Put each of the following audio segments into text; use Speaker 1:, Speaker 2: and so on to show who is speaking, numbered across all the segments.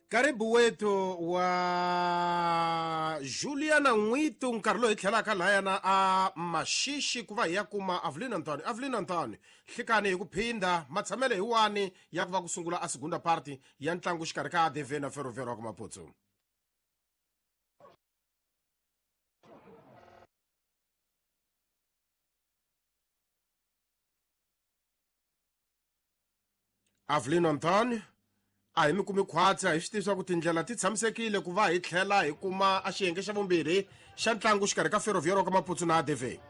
Speaker 1: Karibu wetu wa Juliana N'witu nkarhi lowu hi tlhelaka lahayana a Maxixi ku va hi ya kuma Avelino Antonio. Avelino Antonio, nhlikani hi ku phindha matshamelo hi wani ya ku va ku sungula a segunda party ya ntlangu xikarhi ka ADV na Ferroviário wa ka Maputo. Avelino Antonio, a hi mi kumi khwatsi, a hi swi tivi swa ku tindlela ti tshamisekile ku va hi tlhela hi kuma a xiyenge xa vumbirhi xa ntlangu xikarhi ka Ferroviário ka Maputo na ADV.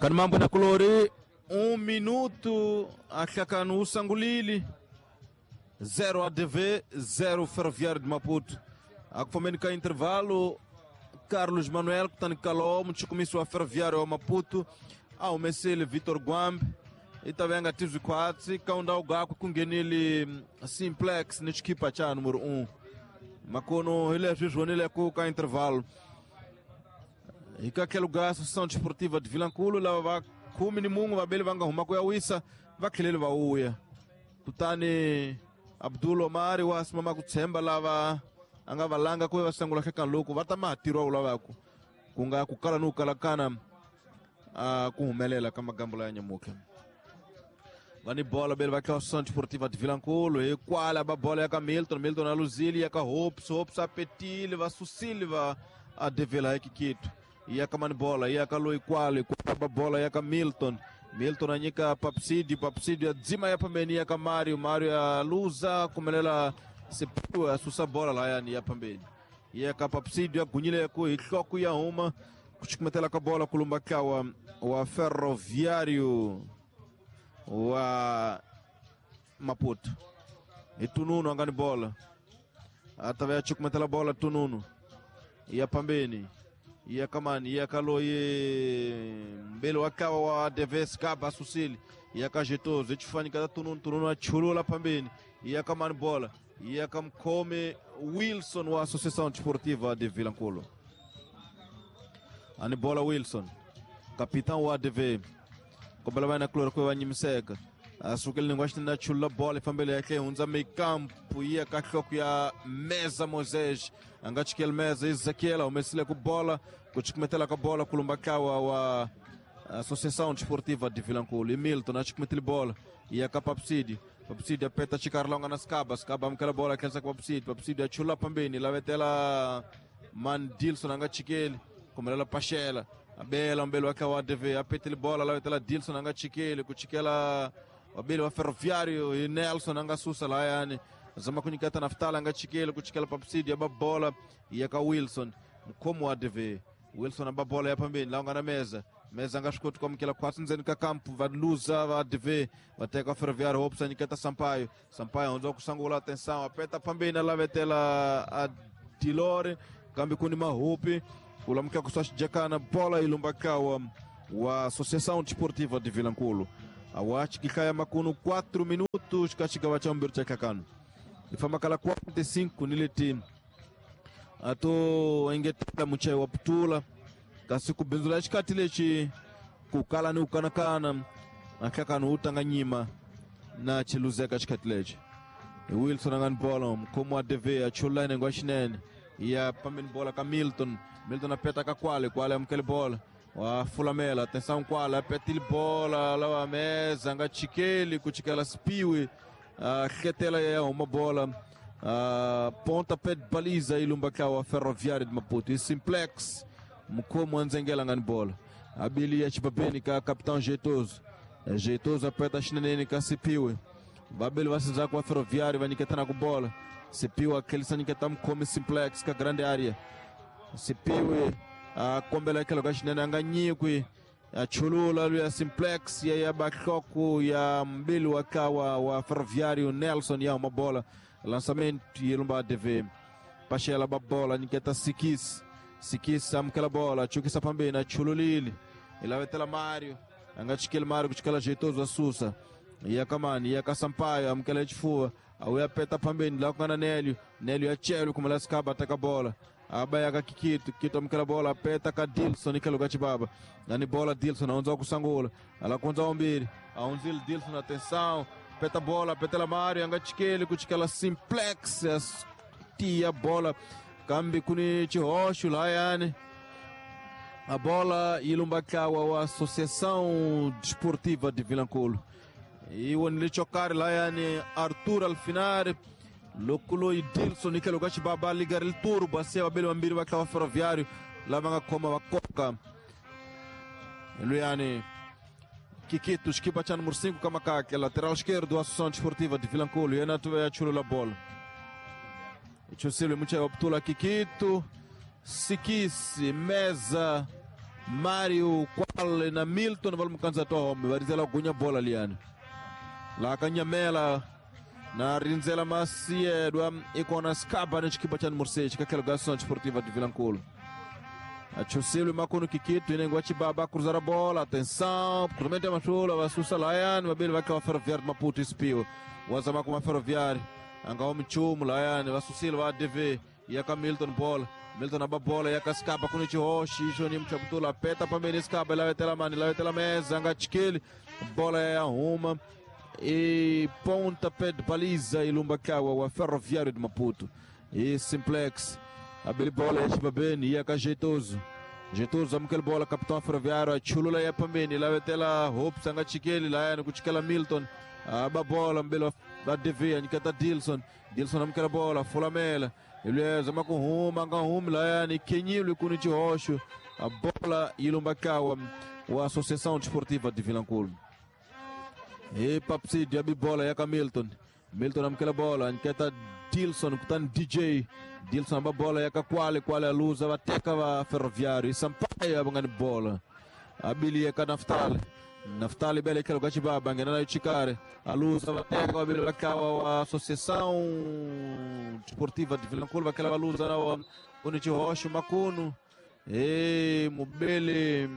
Speaker 2: Kani mambo na kulori 1 minuto ahlakano usangulili 0 ADV 0 Ferroviário de Maputo. Akufambeni ka intervalo Carlos Manuel kutani Kaló muchukumisi wa Ferroviário wa Maputo a humesile Vitor Guambe i ta venga tizwi khwatsi ka ndhawu gakwe ku nghenile Simplex ni xikhipha xa numero 1 makono hi leswi swi vonileko ka intervalo hi ka tlhelo ga Associação Desportiva de Vilankulo lava va khume ni mun'we vabeli va nga huma ku ya wisa va tlheleli va vuya kutani Abdul Omari wa simama ku tshemba lava a nga valanga ku va sangula hlekani loko va ta ma ha tirhiwa wu lavaku ku nga ku kala ni ku kalakana a ku humelela ka magambo ya nyamutlha va ni bola bele va tlha Associação Desportiva de Vilankulo hi kwala ba bola ya ka Milton Milton a luzile ya ka Hopes Hopes a petile va susile va a devela hi Kikito ya ka mani bola ya ka loyi kwale kwala ba bola ya ka Milton Milton a nyika Papsidi Papsidi ya dzima ya pambeni ya ka Mario Mario ya luza kumelela Sepiwe a susa bola layani ya pambeni ya ka Papsidi ya gunyile ku hi hloko ya huma ku chukumetela ka bola kulumba kawa wa Ferroviário wa Maputo hi Tununu a nga ni bola a ta va ya chukumetela bola Tununu ya pambeni ya kamani ya ka loyi mbele wa kawa wa Deves Gaba asusile ya ka Jetozo ichifanika ta Tununu Tununu a chulula pambeni ya kamani bola ya ka mkhome Wilson wa Associação Desportiva de Vilankulo ani bola Wilson capitão wa ADV kombela va na kulori ku va nyimiseka a sukele ni ngwaxi na chulula bola ifambele yakhe hundza mekampu ya ka hloko ya Meza Moisés a nga chikeli Meza Ezequiel a humesile ku bola ku chukumetela ka bola kulumba kawa wa Associação Desportiva de Vilankulo e Milton a chukumetele bola ya ka Papsidi Papsidi apeta chikarlonga na Skaba Skaba amukela bola khensa ka Papsidi Papsidi a chula pambeni lavetela Man Dilson a nga chikeli kumelela Pachela abela mbele wake wa ADV apetele bola lavetela Dilson a nga chikeli ku chikela wabili wa Ferroviário e Nelson a nga susa layani zama kunyiketa Naftali a nga chikeli ku chikela Papsidi aba bola ya ka Wilson mukhomi wa ADV Wilson aba bola ya pambeni laha nga na meza meza a nga swi koti ku amukela khwatsi ndzeni ka kampu va luza va ADV va teka Ferroviário Hopes a nyiketa Sampaio Sampaio hundza ku sangula atenção apeta pambeni a lavetela a Dilore kambe ku ni mahupi ku lamukela ku swa xijakana bola yi lumba kawa wa Associação Desportiva de Vilankulo awachi kihlaya makunu 4 minutos ka xigava xa vumbirhi xa hlakano hi famba kala 45 ni leti a to engetela muchayi wa putula kasi ku bindzula xikati lexi ku kala ni ku kanakana na nhlakano wu tanga nyima na chiluzeka xikati lexi hi Wilson a nga ni bola mukhomi wa DV a chulula nenge wa xinene ya pambeni bola ka Milton Milton a peta ka kwale kwale amukele bola wa fulamela atenção kwale a petile bola lawa meza a nga chikeli ku chikela Spiwe a hletela ya huma bola ponta pé de baliza ilumba kawa Ferroviário de Maputo e Simplex mukhomi wa ndzengela nga ni bola abili ya xibabeni ka capitão Jeitoso Jeitoso apeta xineneni ka Sipiwe vabeli va sindzhaku va Ferroviário va nyiketana ku bola Sipiwe a tlhelisa nyiketa mukhomi Simplex ka grande area Sipiwe a kombela etlhelo ka xinene a nga nyikwi a chulula luya Simplex ya ya bahloko ya mbili wa kawa wa Ferroviário Nelson ya huma bola lançamento yi lumba ADV Pachela ba bola nyiketa Sikis Sikis amukela bola chukisa pambeni a chululile i lavetela Mario a nga chikeli Mario ku chikela Jeitoso a susa ya kamani ya ka Sampaio amukela xifuva a wuya peta pambeni laha ku nga na Nelio Nelio ya chelo kumela Skaba teka bola aba ya ka Kikito Kikito amukela bola apeta ka Dilson ikhelo ka Chibaba nani bola Dilson a hundza ku sangula ala ku hundza wambirhi a hundzile Dilson atenção Peta bola, petela Mário, anga chikele kuchikela simplex tia bola. Kambi kuni chihoxo layani. A bola ilumbakawa wa Associação Desportiva de Vilanculo. E o Nilichokari layani Arthur Alfinari. Lokulo e Dilson Nikelo Gachibaba ligar il turbo a seu abelho ambiri wakawa ferroviário lá vanga koma wakoka. Luiani Kikito, equipa cha número 5 Kamakake, lateral esquerdo, Associação Desportiva de Vilanculo. E a chulula bola. Chusilo mucha optula Kikito, Sikisi, Meza, Mário, Qual na Milton valmukanza tohome, varizela gunya bola liani. La kanyamela na rinzela masiedwa ikona skaba na chikipa cha número 6 kakelo Associação Desportiva de Vilanculo. Achusilo makono Kikito inengwa chibaba cruzar a bola, atenção, cruzamento é machula, vasusa Layan, mabili vakawa Ferroviário de Maputo espio. Wazama kuma Ferroviário. Anga omchumu Layan, vasusilo va ADV, yaka Milton bola. Milton aba bola, yaka skaba kunichi hoshi, Joni mchabutula peta pambeni skaba, la vetela mani, la vetela mesa, anga chikili, bola ya huma. E pontapé de baliza ilumbakawa wa Ferroviário de Maputo. E simplex. Abeli bola ya Chibabeni, yaka jeitoso. Jeitoso amukele bola, capitão Ferroviário, chulula ya pambeni, la vetela Hopes anga chikeli, la kuchikela Milton. Aba bola mbele ADV, anikata Dilson. Dilson amukele bola, fulamela. Ele zama com huma, anga huma, la ni kenyilo kunichi hosho. A bola ilumbakawa wa Associação Desportiva de Vilanculo. E Papsidi abi bola yaka Milton. Milton amukela bola, anikata Dilson kutani DJ. Dilson aba bola yaka Kwale, Kwale aluza bateka va Ferroviário. E Sampaio abangani bola. Abili yaka Naftali. Naftali bele kelo gachibaba ngena nayo chikare. Aluza bateka abili bakawa wa Associação Desportiva de Vilanculo bakela baluza na unichi hosho makunu. E mubele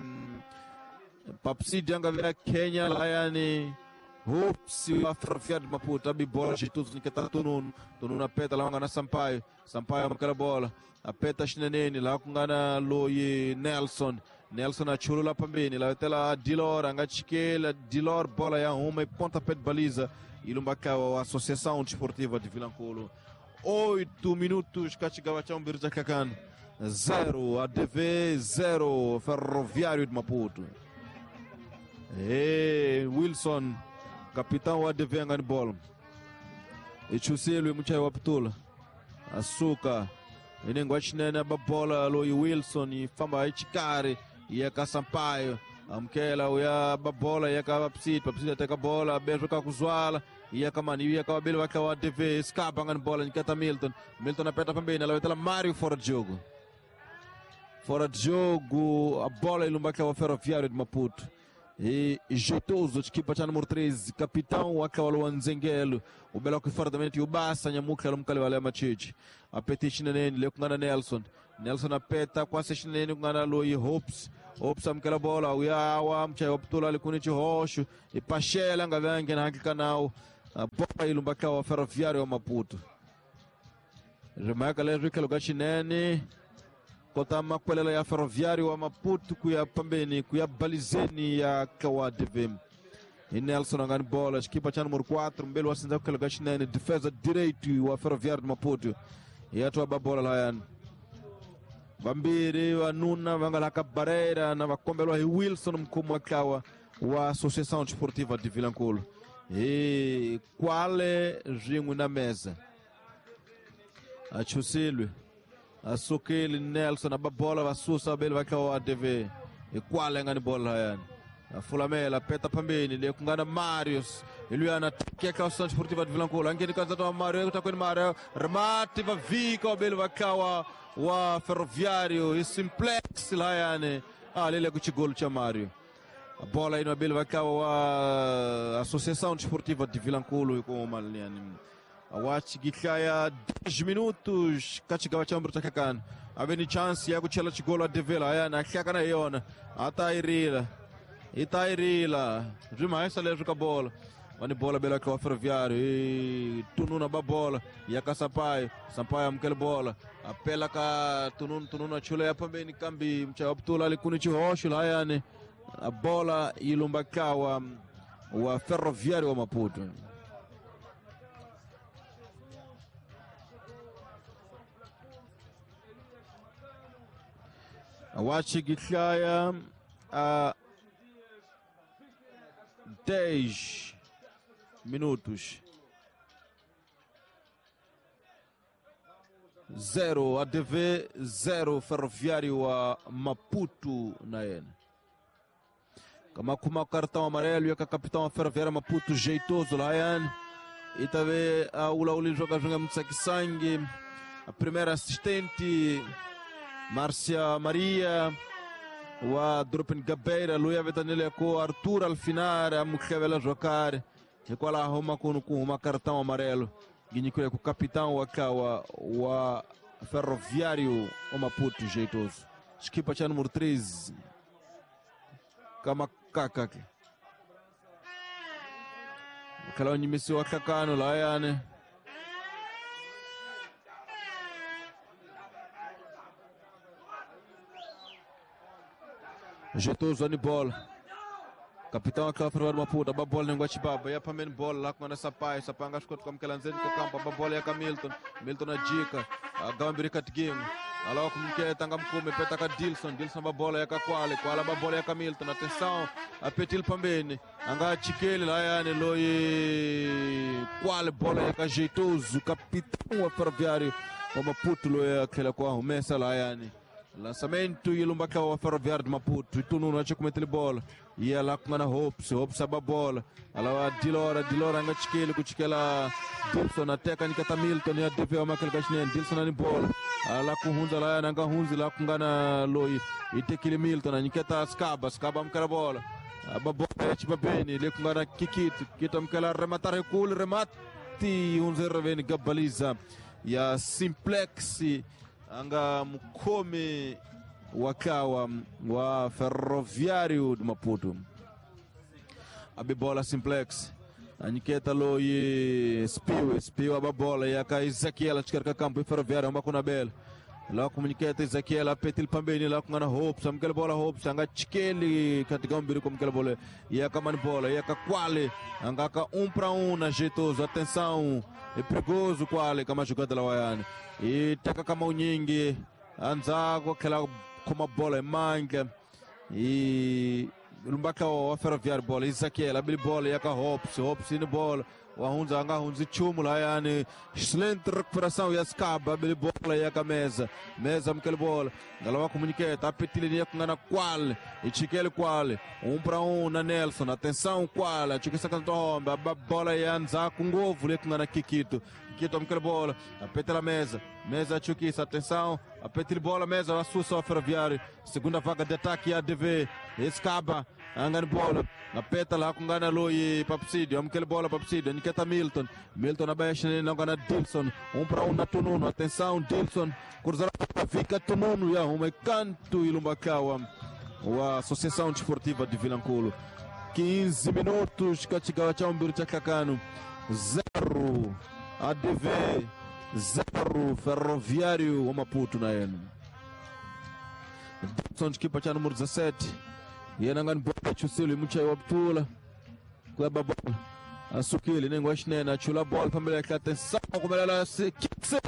Speaker 2: Papsidi anga vya Kenya layani Hopes wa Ferroviário de Maputo, abi bola de tudo nikata tununu, tununu apeta lá na Sampaio, Sampaio amkala bola, apeta Chinenene lá kungana Loyi Nelson, Nelson achulula pambeni, lá tela Dilor, anga chikela, Dilor bola ya uma e pontapé de baliza, ilumbakawa a Associação Desportiva de Vilanculo. 8 minutos, Kachigava Chambir Kakan, 0, ADV 0, Ferroviário de Maputo. E Wilson, capitão ADV angani bola. Echuselo muchai waptula. Açúcar. Inengwa chinene babola loi Wilson e famba ichikare yeka Sampaio. Amkela uya babola yeka Papsidi, Papsidi ateka bola, bejo ka kuzwala, yeka mani yeka wabili waka wa ADV, skapa angani bola nikata Milton. Milton apeta pambeni, alawetela Mário fora de jogo. Fora de jogo, a bola ilumbaka wa Ferroviário de Maputo. E jeitoso, equipa cha número 13, capitão akawalo Nzengelo, o belo que fora também o Bassa, nyamuka lumkali wale machichi. Apeti chinenene, leo kungana Nelson. Nelson apeta kwase chinenene kungana Loi Hopes. Hopes amkela bola, uyawa mchai waptula alikunichi hosho, e pashela ngavange na hakika nao. A bola ilumbaka wa Ferroviário wa Maputo. Remaka leo kaloga chinene. Kota makwelela ya Ferroviário wa Maputo kuya pambeni kuya balizeni ya kawa ADV. E Nelson angani bola, equipa cha número 4, mbele wasinza kukela chinene, defesa direito wa Ferroviário de Maputo. E atua babola layan. Vambiri vanuna vangalaka barreira na vakombelwa hi Wilson mkhumu wa kawa wa Associação Desportiva de Vilanculo. E kwale rin'we na mesa. Achusilwe. Asukile Nelson ababola basusa abeli bakawa ADV. E kwale ngani bola hayani. Afulamela peta pambeni le kungana Marius. Iluana teka Associação Desportiva de Vilanculo. Angeni kanza to Mario kutakweni Mario. Remate vavika abeli bakawa wa Ferroviário. E simplex hayani. Ah, lele kuchigolo cha Mario. A bola aí no abeli bakawa wa Associação Desportiva de Vilanculo com o Maliani. Awatch gikhaya 10 minutos kachigava cha mbruta kakana aveni chance ya kuchela chigolo ADV la hlakana hi yona atairila itairila zvimhaisa leswi ka bola vani bola bela ka wa Ferroviário e tununa ba bola ya ka Sampaio, Sampaio amukele bola apela ka tununu, tununu achula ya pambeni kambi mchaya waptula alikuni chihoxo layani a bola ilumbakawa wa Ferroviário wa Maputo. Wachi gihlaya a 10 minutos. 0 ADV 0 Ferroviário wa Maputo na yena. Kama kuma cartão amarelo ya capitão wa Ferroviário Maputo jeitoso layani. Itave a ula joga joga mtsakisangi. A primeira assistente Márcia Maria wa Drupen Gabeira luya vetanile ko Arthur Alfinar a mukhevela jocar hikwalaho huma kunu ku huma cartão amarelo ginyikule ku capitão wa kawa wa Ferroviário wa Maputo jeitoso. Xikipa cha número 13 kama kaka ke khala nyimisi wa hlakano layani. Jeitoso ni bola. Capitão aquela Ferroviário Maputo, a bola nem Guatibaba, ia para bola lá com a Sampaio, Sampaio acho que como que lanzeni com campo, a bola ia com Milton, Milton a dica, a Gambiri Katgim, a lá como que tanga mkume, peta ka Dilson, Dilson a bola ia com Quale, Quale a bola ia com Milton, atenção, a Petil pambeni, anga Chikele lá ia loi Quale bola ia com Jeitoso, capitão Ferroviário, o Maputo loi aquela com a rumessa lá ia. Lançamento e lumba wa Ferroviário de Maputo. E tu não acha como ele bola. E ela com a Hopes, Hopes a bola. Ela Dilora, Dilora anga chikele kuchikela Dilson até kanikata Milton e a DV wa Michael Gashnen, Dilson ani bola. Ela com Hunza lá nanga Hunza lá com gana loi. E tekile Milton aniketa Skaba, Skaba amkela bola. A bola é tipo bene, ele com gana Kikito, Kikito amkela rematar recul, remate Hunza reveni gabaliza. E a Simplex anga mukome wakawa wa Ferroviário de Maputo. Abibola Simplex aniketa loi Spiu, Spiu ababola ya ka Ezequiel achikarka campo Ferroviário amba kuna bela. Lá comuniceta Ezequiel apetil pambeni lá com ana Hopes, amkela bola Hopes anga chikeli katika mbiri com aquela bola. E a mani bola, e a Quale anga ka 1 para 1 na jeitoso, atenção. É perigoso Quale kama jogada la wayani. E taka kama unyingi anza kwa aquela com a bola manga e lumbaka wa Ferroviário bola Ezequiel abri bola e a Hopes, Hopes in bola. Wahunza anga hunzi chumu la yani excelente recuperação e escapa abri bola e a mesa mesa mkele bola galawa comuniqueta apetile ni kungana Quale e chikele Quale 1 para 1 na Nelson, atenção Quale chikisa kanto homba a bola e anza com ngovu le kungana Kikito Kikito mkele bola apetela mesa mesa chukisa atenção apetile bola mesa assusta o Ferroviário, segunda vaga de ataque a ADV escapa angani bola apeta lá kungana loi Papsídio amkele bola Papsídio Niketa Milton, Milton abaixo não gana Dilson, 1 para 1 na Tununo, atenção Dilson, cruzar fica Tununo e arruma canto e Lumbakawa, a Associação Desportiva de Vilanculo. 15 minutos, Katigawa Chambiro Chakakano, 0 ADV, 0 Ferroviário, o Maputo na N. Dilson de equipa número 17, e anangani bola chusilo muchayi wa ptula, kweba bola. Asukile nengwashinene achula bola pambele yakhe atenção kumelela sikse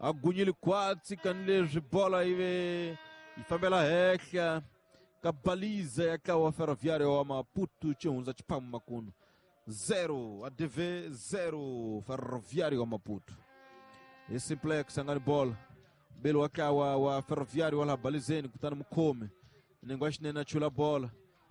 Speaker 2: agunyile kwatsi kanileswi bola ive ifambela hehla kabaliza yakawa Ferroviário wa Maputo chihundza chiphamu makunu 0 ADV 0 Ferroviário wa Maputo. E Simplex angani bola belo wakawa wa Ferroviário wala balizeni kutani mukhomi nengwashinene achula bola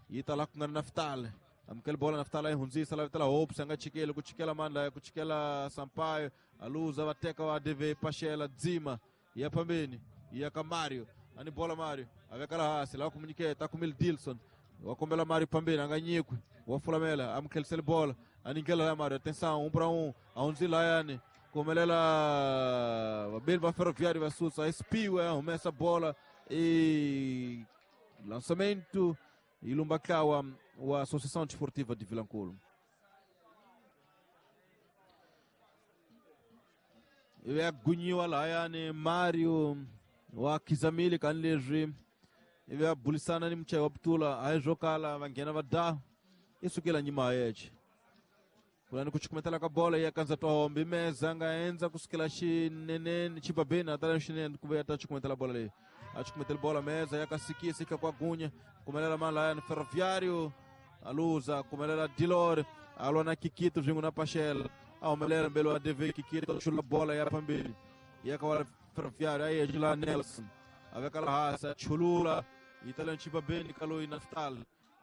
Speaker 2: yita la kungana Naftali amkele bola Naftali ihunzisa la vitala Hopes anga chikele kuchikela mandla kuchikela Sampaio aluza wateka wa ADV Pachela dzima ya pambeni ya Kamario ani bola Mario avekala hasi la comuniqueta com Dilson wakombela Mario pambeni anga nyikwe wafulamela amkele bola aninkela la Mario atenção 1 para 1 aunzila yani komelela vabeli va Ferroviário va susa Spiu arrumessa bola e lançamento e Lumbakawa a Associação Desportiva de Vilanculo. E agunyiwa la yani Mario wa Kizamili kanileswi ive abulisana ni muchayi wa putula aizvokala vanghena va da isukela nyima yeche. Kulani kuchukumetela ka bola ya kanza tohombi meza nga enza kusukela xineneni chibabeni atala xinene kuve ya ta chukumetela bola leyi a chukumetela bola meza yakasikia sika kwa gunya kumelela malaya ni Ferroviário aluza kumelela Dilore alwa na Kikito vingu na Pachela aumelela mbele wa DV Kikito chula bola ya pambili yakawala Ferroviário aí lá Nelson avekala hasa chulula italian chibabeni kaloi Naftal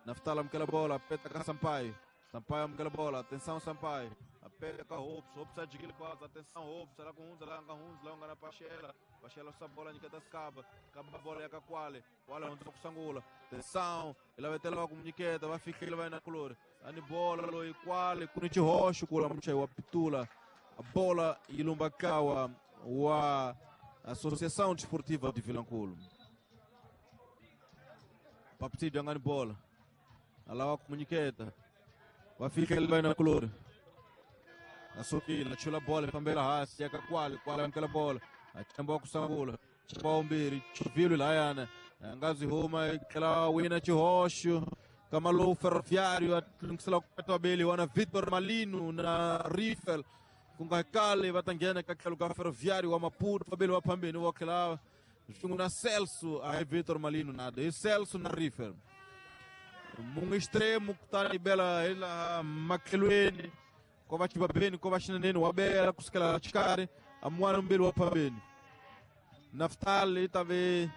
Speaker 2: Naftal amkela bola peta ka Sampaio Sampaio amkela bola, atenção Sampaio apeta ka Hopes, Hopes adquire quase, atenção Hopes, lá com Hunza, lá com Hunza, lá na Pachela Pachela essa bola nikata skaba, kaba bola ya Kwale, Kwale Hunza kusangula, atenção, ele vai ter logo Niketa, vai ficar, ele vai na color, ani bola loi Kwale, kunichi roxo kula mchai wa pitula, a bola ilumbakawa wa Associação Desportiva de Vilanculo. Paptido angani bola. Alawa comuniqueta. Vai ficar ele vai na color. Asukila chula bola pambela hasi yaka kwale kwale amkela bola. Achamba kusangula. Chamba umbiri chuvilo layana. Angazi huma kala wina chihosho. Kamalo Ferroviário atlungisela kupeta beli wana Vitor Malino na Riffel. Kungakale vatangena kakhelo ka Ferroviário wa Maputo fabeli wa phambeni wa khela swin'we na Celso a Vitor Malino nada e Celso na Riffel mungu extremo kutani bela ela makhelweni ko va chibabeni ko va xineneni wa bela kusukela xikarhi a mwana mbili wa phambeni Naftali tave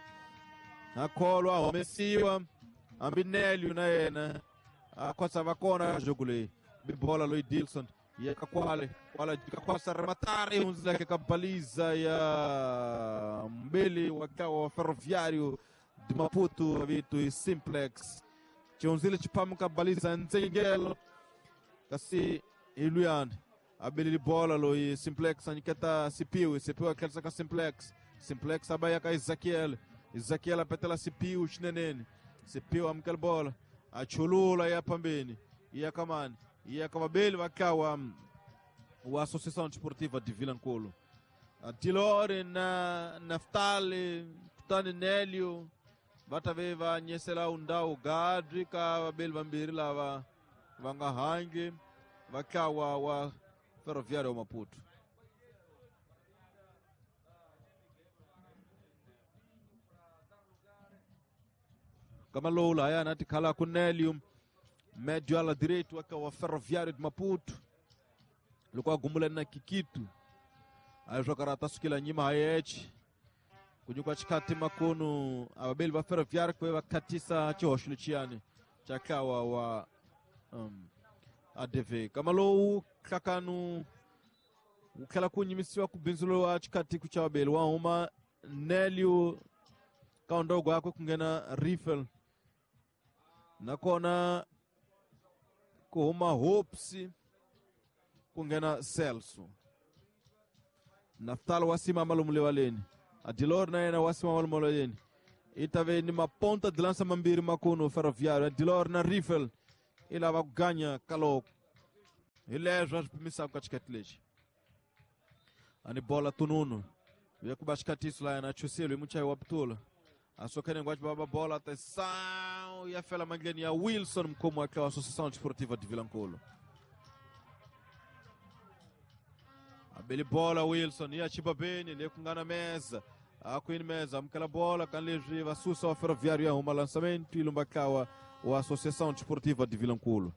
Speaker 2: akholwa humesiwa hambi Nelio na yena a khosa va kona jogo leyi bibola loyi Dilson yeka kwale kwale jikakwasa rematare hunzileke ka baliza ya mbili wakawa Ferroviário de Maputo vitu i Simplex chihunzile chipamuka baliza ntsengelo kasi iluyani abelili bola loyi Simplex anyiketa Sipiwe Sipiwe akhelisa ka Simplex Simplex abaya ka Ezekiel Ezekiel apetela Sipiwe xineneni Sipiwe amukela bola achulula ya pambeni iya kamani e acababele vakawa wa Associação Desportiva de Vilanculo. A Dilore na Naftali, kutani Nélio, vatave va nyesela undau gadri ka vabeli vambirhi lava va nga hangi vakawa wa Ferroviário wa Maputo. Kama lowu lahayana tikhala ku Nélio médio ala direito akawa Ferroviário de Maputo loko a gumula na Kikito aí jogará tasukila nyima hayechi kunyuka chikati makono ababeli va Ferroviário kwe vakatisa chihoxo lechiyani chakawa wa ADV kama lowu hlakanu wu tlhela ku nyimisiwa ku bindzulo wa chikati ku cha vabeli wa huma Nélio ka ndogo yakwe ku nghena Riffel nakona kuhuma Hopes ku nghena Celso Naftal wa simama lomu levaleni Adilor na yena wa simama lomu levaleni i ta ve ni maponta de lança mambirhi makuno Ferroviário Adilor na Riffel i lava ku ganya kaloko hi leswo a swi pimisaka ka xikati lexi ani bola tununu ya ku ba xikatiso la yena chuselo hi muchayi wa pitula asokene ngwachi baba bola atenção e a fela mandleni ya Wilson mkhomo wa wa Associação Desportiva de Vilanculo. Abeli bola Wilson e a Chibabeni le kungana mesa akwini mesa amukela bola kanlezwi vasusa wa Ferroviário ya huma lançamento ilumbakawa wa Associação Desportiva de Vilanculo.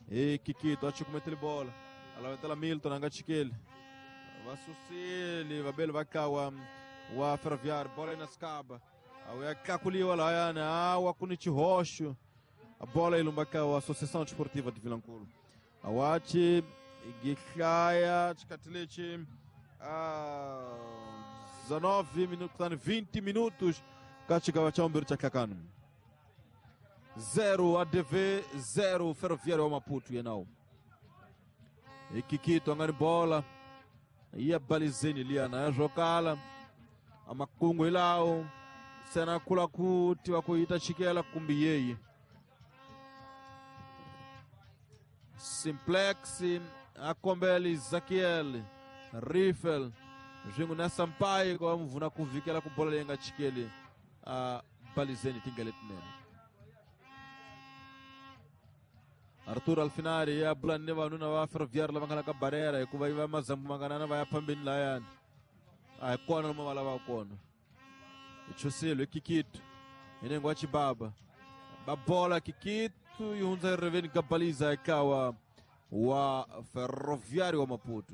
Speaker 2: E Kikito achukumetele bola alavetela Milton angachikele vasusile vabeli vakawa wa Ferroviário bola inaskaba awekakuliwa layana awa kuni chihoxo a bola ilumbaka wa Associação Desportiva de Vilanculo awachi gihlaya chikati a 19 minutos 20 minutos kachigava cha umbiri cha hlakanu 0 ADV 0 Ferroviário wa Maputo yenao Ikikito angani bola iya balizeni liana yazvokala amakungu ilawo sena kula kuti vakuita chikela kumbi yeyi Simplex akombela Ezekiel Riffel zvingu na Sampaio kwa mvuna kuvikela ku bola leyi nga chikeli a balizeni tingele tinene. Arthur Alfinari ya bula ni vanhu va Ferroviário lava nga la ka barera hikuva yi va mazambu manganana va ya phambeni layani a hi kona lomu va lavaka kona. Hi chusile hi Kikito hi nengo wa Chibaba ba bola Kikito yi hundza eriveni Gabaliza ikawa wa Ferroviário wa Maputo.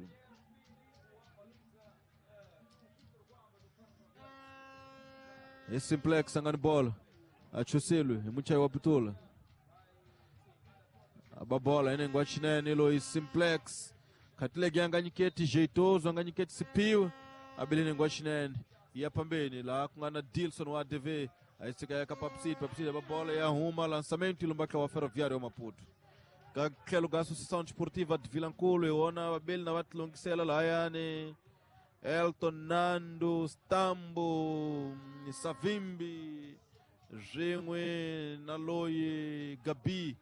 Speaker 2: Hi Simplex angani bola achusile hi muchayi wa pitula aba bola inengo wa chinene loyi Simplex khatilegi anga nyiketi jeitoso anga nyiketi Sipiwe abili nengo wa chinene ya pambeni la ku nga na Dilson wa ADV ayisika ya ka Papsidi Papsidi aba bola ya huma lançamento ilumbaka wa Ferroviário wa Maputo. Ka tlhelo ka Associação Desportiva de Vilankulo hi wona vabeli na va tilungisela lahayani Elton Nando Stambo Savimbi swin'we na loyi Gabi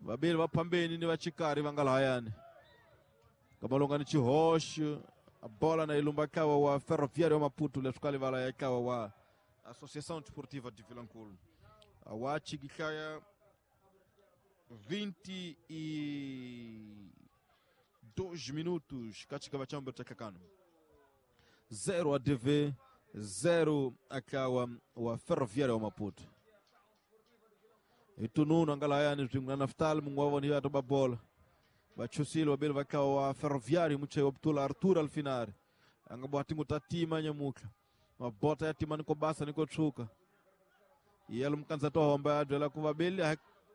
Speaker 2: vabeli va phambeni ni va chikari va nga lahayani kamalonga ni xihoxo bola na ilumba ntlawa wa Ferroviário wa Maputo leswi ka livala ya ntlawa wa Associação Desportiva de Vilankulo wa chikihlaya 22 minutos katika chambe cha kakano 0 ADV 0 akawa wa Ferroviário wa Maputo. Itununu angalayani swin'we na Naftal mungu wa vona ya bola vachusile vabeli vakawa wa Ferroviário muchayi wa putula Arthur Alfinari anga bwa tingu ta tima nyamutlha mabota ya tima niko basa niko tshuka yelo mukanza to homba ya byela ku vabeli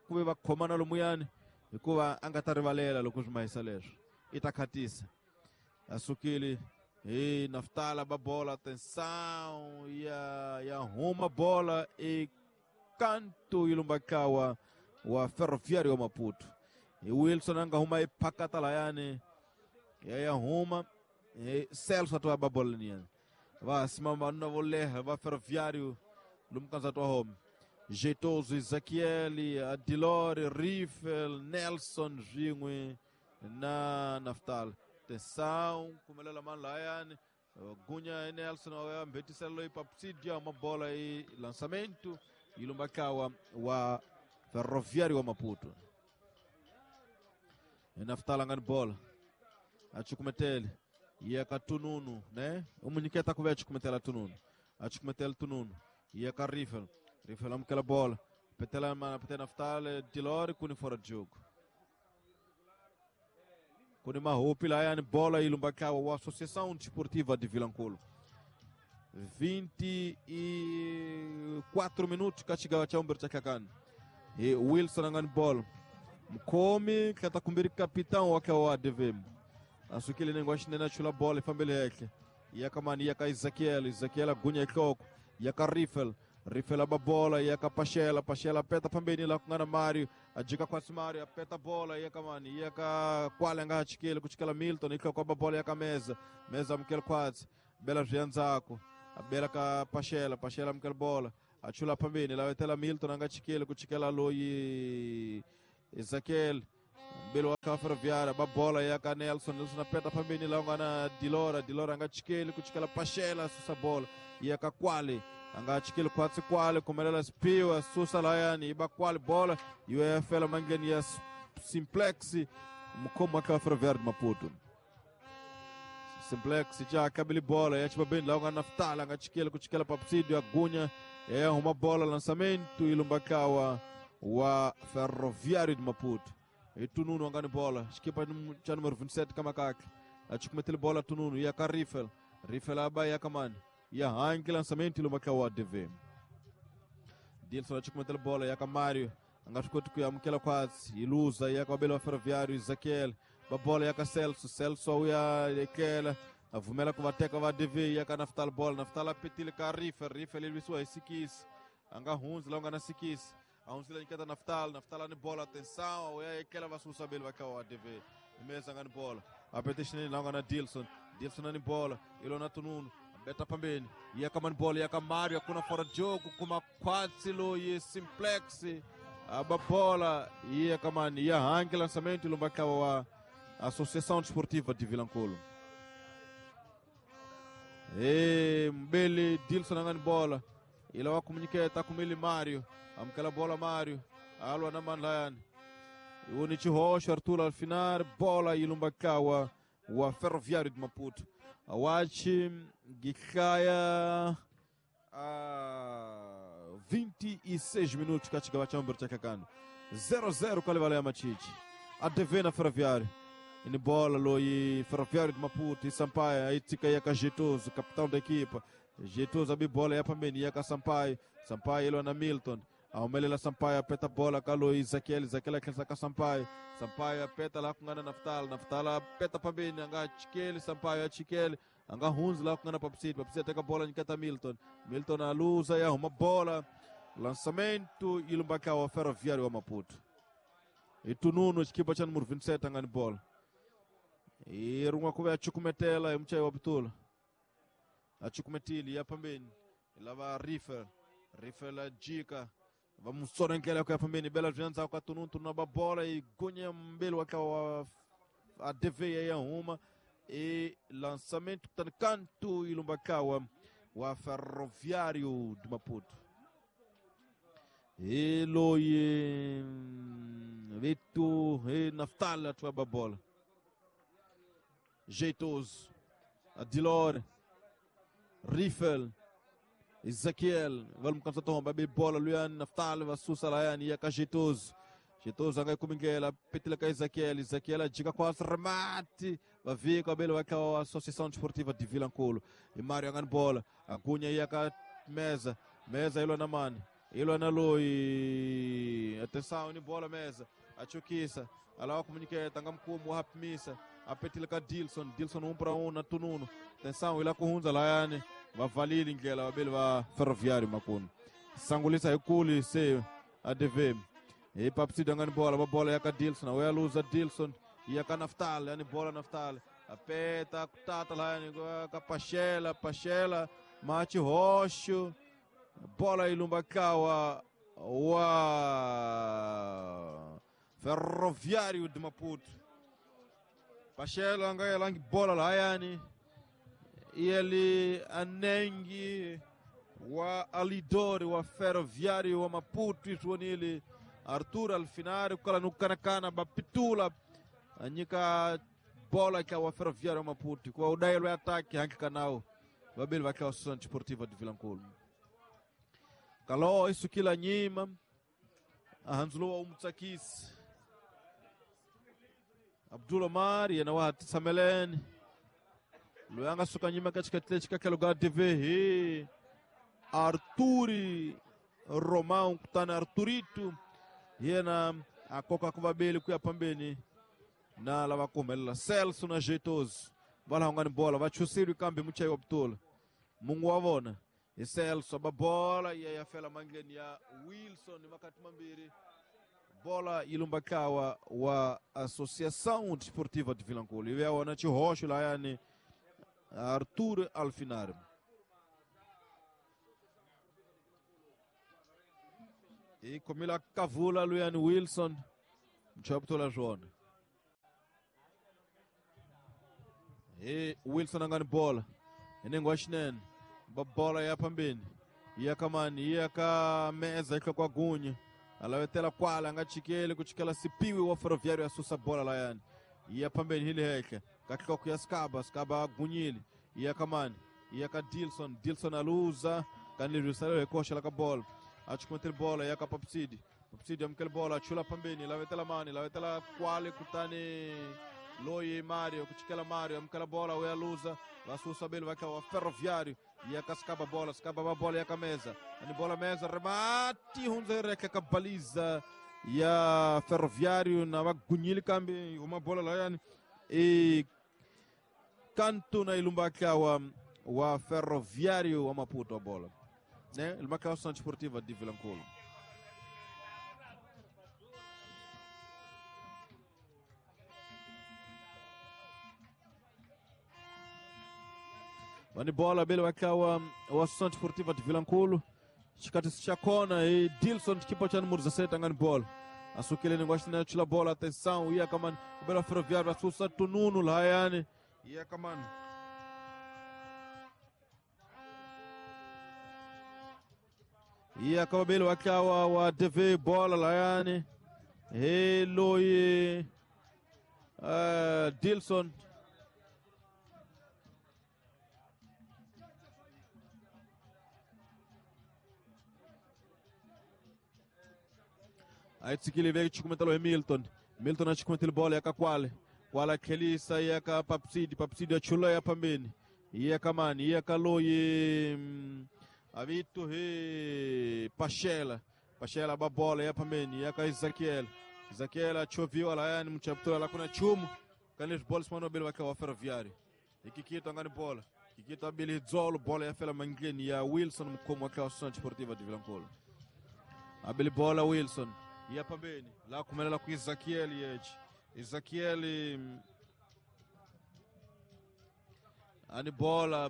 Speaker 2: ku ve va khomana lomuyani hikuva a nga ta rivalela loko swi mahisa leswo i ta khatisa asukile hi Naftala ba bola atenção ya huma bola e kanto ilumbakawa wa Ferroviário wa Maputo. E Wilson anga huma iphakata layani ya huma e Celso atwa ba bola niani va simama vanuna vo leha va Ferroviário lumkanza twa home Jeitoso, Ezequiel, Adilore, Riffel, Nelson swin'we na Naftal. Atenção, kumelela mani layani gunya Nelson wa mbhetisela loyi Papsidia mabola e lançamento ilumbakawa wa Ferroviário wa Maputo. Naftal angani bola achukumetele yeka tununu né umunyiketa kuve achukumetela tununu achukumetela tununu yeka Riffel Riffel amukela bola petela mana petela Naftal Dilore kuni fora de jogo kuni mahupi layani bola ilumbakawa wa Associação Desportiva de Vilankulo. 24 minutos kachigawa cha umber cha kakani e Wilson angani bola mkhomi kata kumbiri capitão wake wa ADV asukile nengo axinene achula bola ifambele hehle yakamani yaka Ezequiel Ezequiel agunya ihloko yaka Riffel Riffel aba bola yaka Pachela Pachela peta pambeni la kungana Mario ajika kwasi Mario apeta bola yakamani yaka kwale anga achikele kuchikela Milton ihloko aba bola yaka Meza Meza amukela kwatsi bela zviandzako abela ka Pachela Pachela amukela bola achula pambeni la wetela Milton anga chikele kuchikela loyi Ezequiel mbele wa Ferroviário ba bola yaka Nelson Nelson apeta pambeni la ngana Dilora Dilora anga chikele kuchikela Pachela susa bola yaka Kwale anga chikele kwatsi Kwale kumelela Spiwa susa layani iba Kwale bola UFL mangeni ya Simplex mkhomo wa Ferroviário de Maputo. Simplex já kabili bola ya chibabeni la ngana Naftal anga chikele kuchikela Papsidio agunya ya uma bola lançamento ilumbakawa wa Ferroviário de Maputo. E tununu angani bola xikipa cha número 27 kama kaka achikumetele bola tununu ya ka Riffel Riffel aba ya kamani ya hangi lançamento ilumbakawa ADV. Dilson achikumetele bola ya ka Mario anga swi koti ku amukela kwatsi iluza ya ka vabeli wa Ferroviário Ezequiel ba bola ya ka Celso Celso ya lekela avumela ku va teka va ADV ya ka Naftal bola Naftal apetile ka Riffel Riffel ilwisiwa hi sikisi anga hundzi la nga na sikisi ahunzile nyiketa Naftal Naftal ani bola atenção ya ekela vasusa beli va ka wa ADV imeza ngani bola apete xinene la nga na Dilson Dilson ani bola ilona tununu beta pambeni ya kamani bola ya ka Mario akuna fora jogo kuma kwatsi loyi Simplex aba bola ya kamani ya hangi lançamento ilumbakawa wa Associação Desportiva de Vilankulo. E mbele Dilson angani bola ila wakumnyiketa kumili Mario amkela bola Mario alwa na manlayani Iwoni Chihoxo Arthur Alfinar bola yilumbakawa wa Ferroviário de Maputo. Awachi gikhaya a 26 minutos kachigawa cha mbere chakakano 0-0 kalivala ya Machichi. ADV na Ferroviário. Ini bola loyi Ferroviário de Maputo e Sampaio aí tika ya Jeitoso, capitão da equipa. Jeitoso abi bola ya pambeni ya ka Sampaio. Sampaio ilo na Milton. Aumelela Sampaio apeta bola ka Ezequiel, Ezequiel akhensa ka Sampaio. Sampaio apeta lá kungana Naftal, Naftal apeta pambeni anga chikele Sampaio achikele anga hunzi lá kungana Papsidi, Papsidi ateka bola nikata Milton. Milton aluza ya uma bola. Lançamento ilumbaka wa Ferroviário wa Maputo. Itununo chikipa cha número 27 angani bola. E runga kuve achukumetela mchai wa Butula. Achukumetili ya pambeni. Lava Rifer, Rifer la jika. Vamos kwa pambeni bela vyanza kwa tununtu na babola e gonha mbele wa ADV ya uma e lançamento canto ilumbakawa wa Ferroviário de Maputo. E loye Vitor e Naftal a tua bola. Jeitoso, Adilor, Riffel, Ezequiel, vamos cansar tom, baby bola, Luian, Naftal, Vassusa, Laian, Iaka, Jeitoso. Jeitoso, anga Cominguela, Petila, Ezequiel, Ezequiel, diga quase remate, vai ver cabelo, vai com a Associação Desportiva de Vilanculo. E Mário anga bola, a Cunha Iaka, Mesa, Mesa, Ilona Mane, Ilona Lui, atenção, bola, Mesa, a Chuquiça, a lá o comuniqueta, anga mkumu, rapmissa. A petila ka Dilson, Dilson 1 para 1 na Tununo. Atenção, ila kuhunza layani, vavalili ngela babeli va Ferroviário Makuno. Sangulisa ikuli se ADV. E papsida ngani bola, ba bola ya ka Dilson, a luza Dilson, ya ka Naftal, yani bola Naftal. A peta kutata layani ka Pachela, Pachela, Mate Rocho. Bola ilumbakawa wa Ferroviário de Maputo. Pachela anga langi bola layani ele anengi wa alidori wa Ferroviário wa Maputo iswonile Arthur Alfinari kala nukanakana bapitula anyika bola ka wa Ferroviário wa Maputo kwa udailo ya ataki hanki kanao babeli wa Associação Desportiva de Vilanculo. Kalo isu kila nyima ahanzulo wa umtsakisi Abdul Omar yena wa Sameleni Luyanga suka nyima katika tile chika lugar TV Arturi Romão kutana Arturito yena akoka kubabeli kuya pambeni na lava kumelela Celso na Jeitoso vala hongani bola vachusiri kambi muchai wa Butula Mungu wavona e Celso babola ya yafela mangeni ya Wilson makati mambiri bola ilumbakawa wa Associação Desportiva de Vilanculo. E é o Rocha lá yani Arthur Alfinar. E comila Cavula Luian Wilson Mchaptola João. E Wilson angani bola. Enengo ashnen. Bola ya pambeni. Ya kamani, ya ka meza kwa gunya. Alawetela kwala anga chikele kuchikela sipiwi wa Ferroviário asusa bola layani. Ia pambeni hili heke. Katika kuya Skaba, Skaba gunyili. Ia kamani, ia ka Dilson, Dilson aluza, kanli rusale rekosha la bola. Achukumetel bola ia ka Papsidi. Papsidi amkel bola chula pambeni, lawetela mani, lawetela kwale kutani Loye Mario, kuchikela Mario, amkela bola we aluza, vasusa belo vai wa Ferroviário. Ia ka Skaba bola, Skaba bola ia ka mesa. Ani bola mesa, remate, hunzereka ka baliza ya Ferroviário na magunyili kambi uma bola lá yani. E canto na ilumbaka wa Ferroviário wa Maputo a bola. Né? Ilumbaka wa Associação Desportiva de Vilanculo. Vani bola bele wakawa wa Associação Desportiva de Vilanculo. Chikati chakona e Dilson kipa cha número 17 angani bola. Asukile ni na chila bola atenção ia kaman bela Ferroviário asusa tununu la yani ia kaman. Ia kababele wakawa wa DV bola la yani. Hi loyi Dilson. A yi tshikile veke chukumetelo hi Milton. Milton a chukumetile bolo ya ka kwale. Kwala tlhelisa ya ka Papsidi. Papsidi ya chula ya phambeni. Ya ka mani, ya ka loyi avito hi Pachela. Pachela ba bola ya phambeni ya ka Ezequiel. Ezequiel achoviwa layani mchaptura la kuna chumu. Kanis bola simano bele wa ka Ferroviário. Ikikito angani bola. Kikito abili dzolo bola ya fela mangleni ya Wilson mkomo wa ka Associação Desportiva de Vilanculo. Abili bola Wilson. Ya pambeni la kumelela ku Ezequiel yechi. Ezequiel ani bola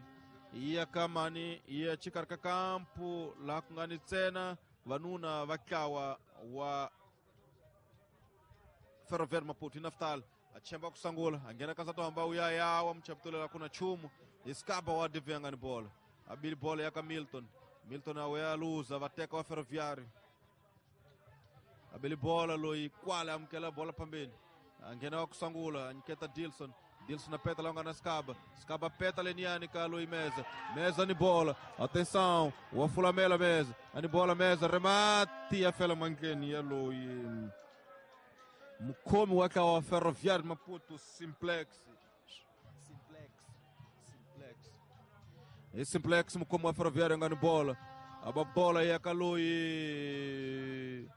Speaker 2: iya kamani iya chikarka kampu la kungani tsena vanuna vakawa wa Ferroviário Maputo Naftal achemba kusangula angena kansa hamba uyayawa mchaptulela kuna chumu iskaba wa devengani bola abili bola yaka Milton. Milton awe aluza vateka wa Ferroviário. Abili bola loyi kwala amukela bola pambeni angena wa kusangula anyiketa Dilson. Dilson apeta longa na Skaba. Skaba peta leniani ka loyi mesa. Mesa ni bola. Atenção, o afulamela mesa. Ani bola mesa remate ya fela mangeni ya loyi mukhomi wa ka wa Ferroviário Maputo Simplex. Simplex. Simplex. E Simplex mukhomi wa Ferroviário ngani bola. Aba bola ya ka loyi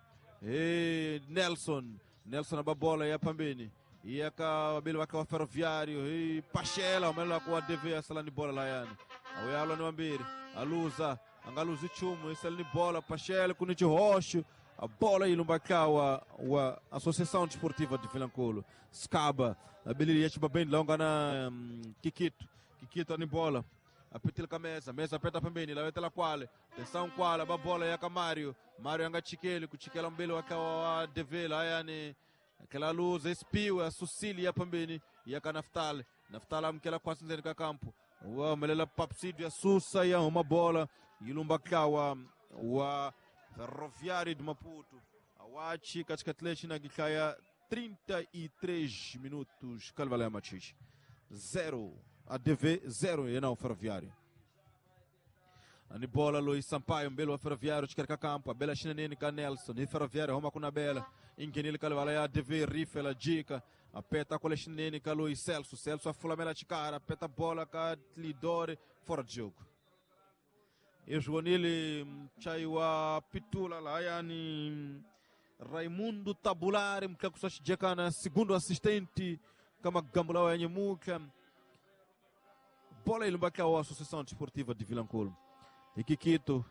Speaker 2: e Nelson. Nelson aba bola ya pambeni. Ia ka wabili wake wa Ferroviário e Pachela umela kwa DV asalani bola layani. Awuyalo ni wambiri. Aluza angaluza chumu isalani bola Pachela kunichi roxo. A bola ilumbakawa wa Associação Desportiva de Vilanculo. Skaba abili yechi babeni longa na Kikito. Kikito ni bola. Apetila ka mesa, mesa apeta pembeni, lawetela kwale. Tensão kwale, ba bola ya ka Mário. Mário anga chikele, kuchikela mbele wakawa wa DV layani. Aquela luz espiu a Sucília pambeni ya ka Naftal. Naftal amkela kwasi nzeni ka kampo. Wa melela Papsidio ya Susa ya uma bola ilumbakawa wa Ferroviário de Maputo. Awachi katika tlechi na gikaya 33 minutos. Calvalé Machich 0 ADV 0 e não Ferroviário. Ani bola Luiz Sampaio mbele wa Ferroviário chikarika kampo abela chineneni ka Nelson e Ferroviário roma kuna bela ingenile kalvala ya ADV rifela jika apeta kole chineneni ka Luiz Celso. Celso afulamela chikara apeta bola ka Lidore fora de jogo. E Joanile mchai wa Pitula la yani Raimundo Tabulare mkakusashijekana segundo assistente kama gambula wa nyemuka bola ilumbaka wa Associação Desportiva de Vilanculo. Ikikito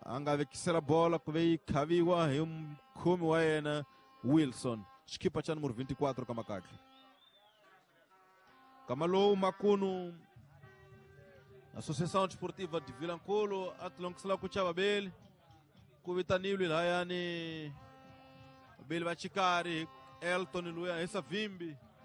Speaker 2: angavekisela bola kuvei kaviwa mkumi wa yena Wilson xikipa cha número 24 kama kake kama lowu makunu Associação Desportiva de Vilanculo atlongisela ku chava beli ku vitanilwe lahayani beli va chikari Elton luya esa vimbi.